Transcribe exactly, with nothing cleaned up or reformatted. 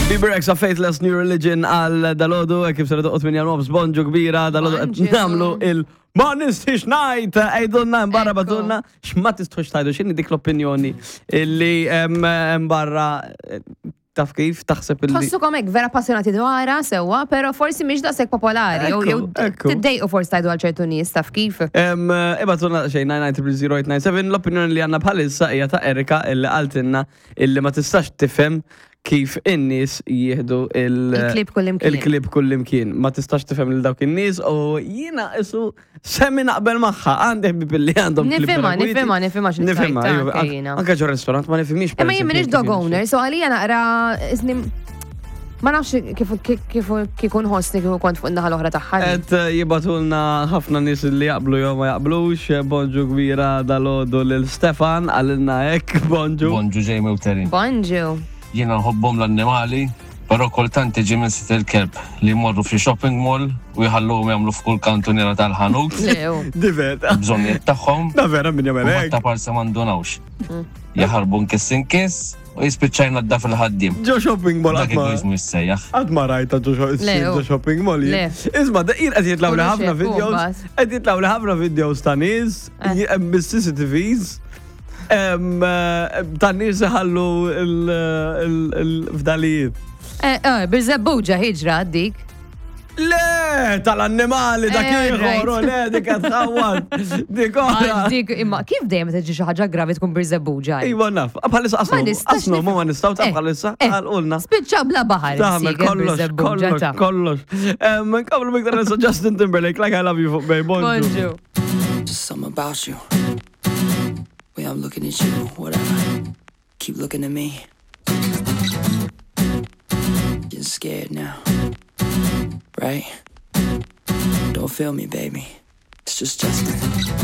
Bebe Rexha, Faithless New Religion għal dalgħodu, kif ser toqgħod minn nofs, bonġu kbira, dalgħodu qed Bonġu. nagħmlu il- Ma nistix ngħid, għidulna barra, Ekku. ibagħtulna, x'ma tistħux tgħidu, x'inhi dik l-opinjoni illi em, em barra eh, taf kif taħseb illi. Tħossukom hekk vera passjonati dwarha sewwa, pero forsi mhix daqshekk popolari. Jew jew Ekku, ekku. tiddejqu forsi tgħidu għal ċertu nies, taf kif. Em, Ibagħtulna xejn nine nine zero zero eight nine seven. L-opinjoni li għandna bħalissa hija ta' Erika illi qaltilna illi ma tistax tifhem kif in-nies jieħdu il- Il-klieb kullimkien. Il-klieb kullimkien. Ma tistax tifhem lil dawk in-nies u jiena isu semmi naqbel magħha. Għandi ħbieb li għandhom klieb Nifhimha, vera kwiti. nifhimha, nifhimha x'inhi Nifhimha, tgħid, iva, anke anke- jiena. Anke ġo restaurant ma nifhimix. Imma jien m'iniex dog kif owner, so għalija naqra isni ma nafx kif kif kif nħossni kif kont fuq in-naħa l-oħra tagħha. Et eh, jibagħtulna ħafna nies li jaqblu jew ma jaqblux, bonġu kbira dalgħodu lil Stefan, qalilna hekk, bonġu. Bonġu Jamie u Terin. Bonġu. Jiena nħobbhom l-annimali, però kultant iġi minn sid il-kelb li jmorru fi shopping mall u jħalluhom jagħmlu f'kull kantuniera tal-ħanut, Lew. Divert. bżonnijiet tagħhom, Da vera min jagħmel u hekk. ta' parsa m'għandunawx. Jaħarbu nkiss inkiss u jispiċċa jnaddaf il-ħaddiem. Ġo shopping mall Dak qatt ma egoizmu jissejjaħ. qatt ma rajta ġo sho- Le, ġo shopping mall. jien. Le. Isma', da jien qed jitlgħu li Kollox ħafna hekk, videos, mbagħad. qed jitlgħu li ħafna videos ta' nies Eh. j- bis-C C T Vs em, eh, ta' nies iħallu il-fdalijiet. Eh, eh, Birżebbuġa ħiġra dik. Le, tal-annimali dak Eh, ieħor, right. u le, dik qed tħawwad. Dik oħra. Għax dik imma kif dejjem tiġi xi ħaġa gravi tkun Birżebbuġa? Iva naf, bħalissa Ma qasnu, nistax qasnu, nifhem. ma nistgħu ta' Eh, bħalissa, eh, għalqulna. Spiċċa bla baħar. Taħmel insieker kollox, Birżebbuġa kollox, ta' kollox. Nkomplu miktar nisa Justin Timberlake, Like I Love You fuq Bay, bonġu. Bonġu. Just something about you. Way I'm looking at you, whatever. Keep looking at me. Getting scared now. Right? Don't feel me, baby. It's just Justin.